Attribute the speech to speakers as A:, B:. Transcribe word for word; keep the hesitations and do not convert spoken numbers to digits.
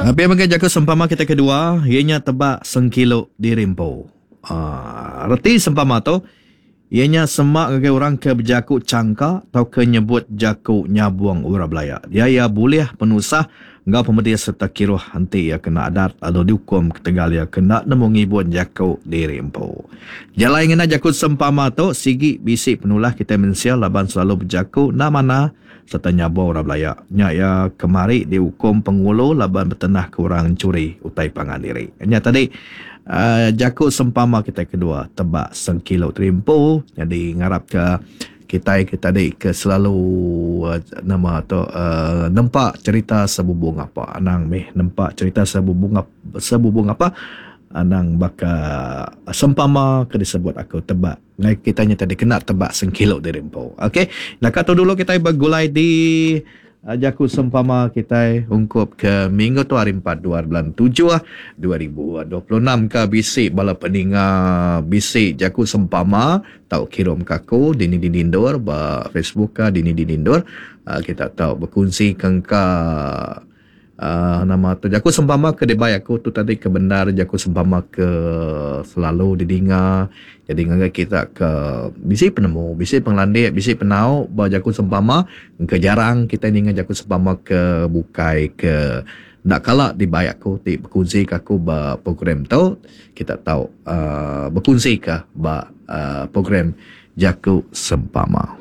A: Pia mega jaku sempama kita kedua, iya nya tebak sengkilu diri empu. Uh, reti sempama tu, iya nya sema ngagai orang ke bejaku changka tauka nyebut jaku nyabung orang belaya. Dia iya bulih penusah enggau pemedis sereta kiruh enti iya kena adat lalu diukum ketegal iya kena nemu ngibun jaku diri empu. Jalai ngena jaku sempama tu sigi bisi penulah kitai mensia laban selalu bejaku enda manah sereta nyabung orang belaya. Nya iya kemari diukum pengulu laban betenah ke orang enchuri utai pangan diri. Nya tadi uh, jaku sempama kita kedua, tebak sengkilu terimpu. Jadi ngarap ke kitai ke tadi ke selalu uh, nama tu uh, nempa cerita sebubung apa. Anang meh nempa cerita sebubung apa, sebubung apa. Anang baka sempama ke disebut aku tebak. Ngai kita nya tadi kena tebak sengkilo diri empu. Okey, naka tu dulu kita bergulai di uh, jaku sempama kita ungkup ke minggu tu hari empat dua bulan tujuh dua ribu dua puluh enam ke bisi bala peninga bisi jaku sempama tau kirim ke aku dini dini endur ba Facebook ka dini dini endur uh, kita tau berkongsi kengka Uh, nama tu jaku sempama ke dibai aku tu tadi ke benar jaku sempama ke selalu didinga. Jadi ngagai kita ke bisi penemu, bisi penglandik, bisi penau ba jaku sempama, ke jarang kita ninga jaku sempama ke bukai ke ndak kala dibai aku ti berkongsi ke aku ba program tu, kita tau uh, berkongsi ke ba uh, program jaku sempama.